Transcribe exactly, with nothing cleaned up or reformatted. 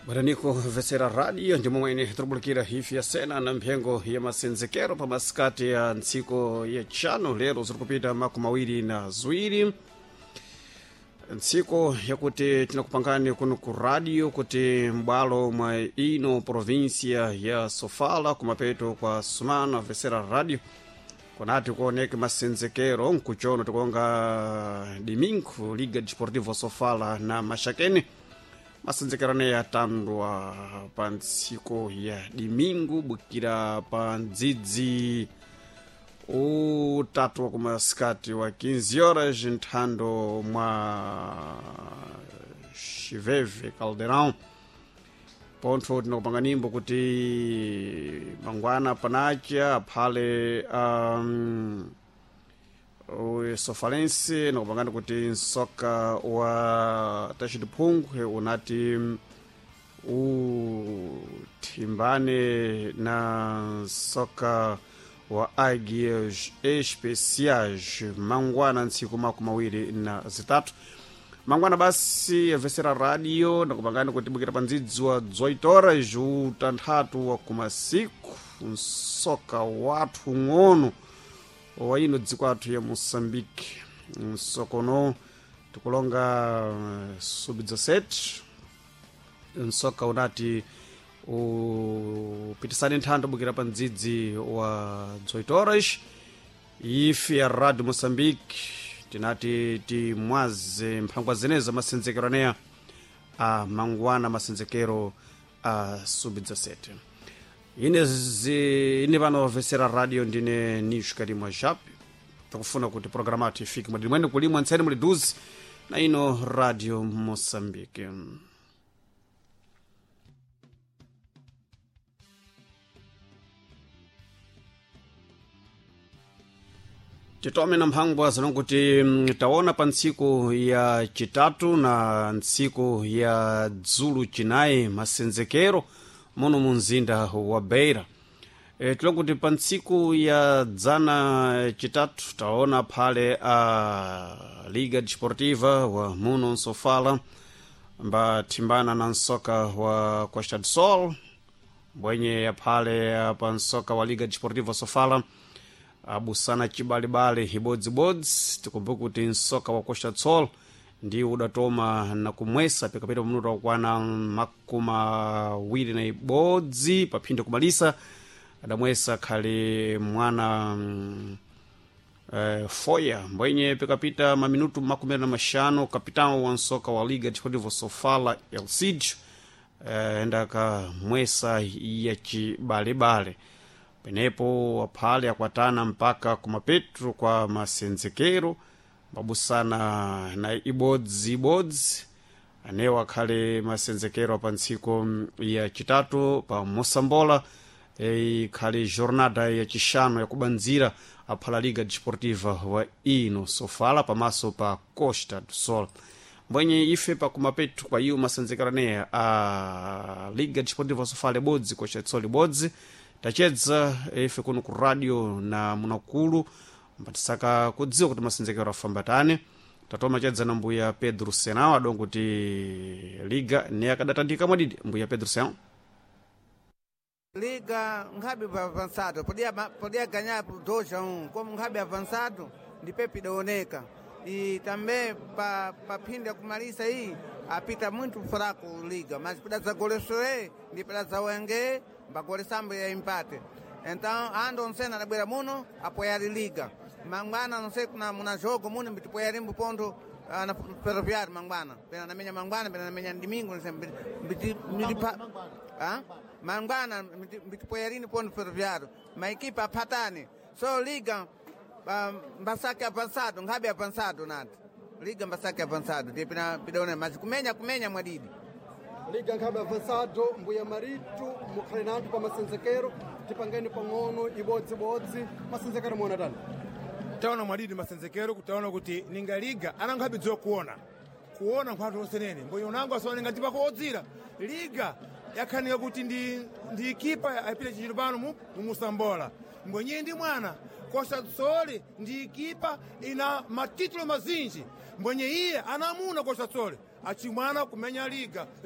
Bwaraniko vesera radio ndi momwe ine tikubulikira hifi ya sena na mphengo ya masenzekero pa masikati ya ntsiko ya tchano lero ziri kupita makumi awiri na ziwiri ntsiko yakuti tinakupangani kuno ku radio kuti m'bwalo mwa ino provinsia ya Sofala kumapeto kwa sumana vesera radio kunati kuoneke masenzekero nkuchono tikonga domingo Liga Desportivo Sofala na Maxaquene masenzekero aneyi atandwa pa ntsiko ya domingo bukira pa ndzidzi utatu wa kumasikati wa quinze horas nthando mwa Xiveve Caldeirão pontho tinakupanga nimbo kuti mangwana panacha aphale um, Sofalense nakupangani kuti nsoka wa Tachidiphungwe unati uthimbane na nsoka wa Águias Especiais mangwana ntsiku makumi awiri na zitatu mangwana basi yavesera radio nakupangani kuti bukira pa ndzidzi wa dezoito horas utanthatu wa kumasiku nsoka wathu ng'ono wa ino dziko athu ya Moçambique nsokono tikulonga sub dezessete nsoka unati upitisane nthando bukira pa ndzidzi wa dezoito horas ife ya Radio Moçambique tinati timwaze mphangwa zeneza masenzekero aneya a mangwana masenzekero a sub dezessete ine zi, ine pano vesera radio ndine Nisho Karimwa Jape takufuna kuti programa yathu ifike mwadini mwene kulimwa ntseni muli duzi na ino Radio Moçambique. Titome na mphangwa zinonkuti taona pa ntsiku ya chitatu na ntsiku ya dzulu chinayi masenzekero muno mu mzinda wa Beira. E, tilokuti pa ntsiku ya dzana chitatu taona phale a Liga Desportiva wa muno Nsofala mbathimbana na nsoka wa Costa do Sol mbwenye yaphale pa nsoka wa Liga Desportiva Sofala abusana chibalibali ibodzibodzi. Tikumbuke kuti nsoka wa Costa do Sol ndi udatoma na kumwesa pikapita pamutu wakwana makumi awiri na ibodzi paphinde kumalisa adamwesa khali mwana mm, eh, foya mbwenye pikapita maminutu makumi na mashanu kapitão wa nsoka wa Liga Desportivo Sofala Elcid eh, endakamwesa ya chibalebale penepo aphale akwatana mpaka kumapetro kwa masenzekero babusana na ibodzi ibodzi anewo akhale masenzekero pa ntsiko ya chitatu pa Mosambola ikhale jornada ya chixano yakubandzira aphala Liga Desportiva wa ino Sofala pamaso pa Costa do Sol mbwenye ife pakumapetu kwa iyo masenzekero aneya a Liga Desportiva Sofala ibodzi Costa do Sol ibodzi tachedza ife kuno ku radio na munakulu mbatisaka kudziwa kuti masenzekero afamba tani tatoma chedza na mbuya Pedro Senao adongo kuti liga ne akadatandika mwadidi mbuya Pedro Senao Liga nkhabe avançado podia podia ganhar por dois a um como nkhabe avançado ndipe pidaoneka e também pa pa phinda kumalisa iyi apita muito fraco liga mas pida golesoe ndi pida zawenge bagolesambo ya empate então ando onsena adabwera muno apoiar liga mangwana não sei kuna muna jogo muno mbitipoyarimbo ponto ah, na ferroviário mangwana pena namenya mangwana pena namenya domingo não sei mbiti mbiti ah mangwana mbitipoyarini ponto ferroviário ma equipa apatane so liga ah, mbasake avançado nkhabe avançado nati liga mbasake avançado ndiye pina pidaona mas kumenya kumenya mwadidi Liga nkhabe avançado mbuya maritu mukhale nanthu pa masenzekero tipangeni pang'ono ibodzibodzi masenzekero muona tani taona mwadidi masenzekero kutaona kuti ninga liga anankhabe dziwa kuona kuona nkhwathu onsenene mbonye unango asaonenga tipako odzira liga yakhanika kuti ndi, ndi ikipa ayipita chichito pano mu mumusambola mbonye ndi mwana Costa do Sol ndi ikipa ina matitulo mazinji mbonye iye anamuna Costa do Sol achimwana kumenya liga.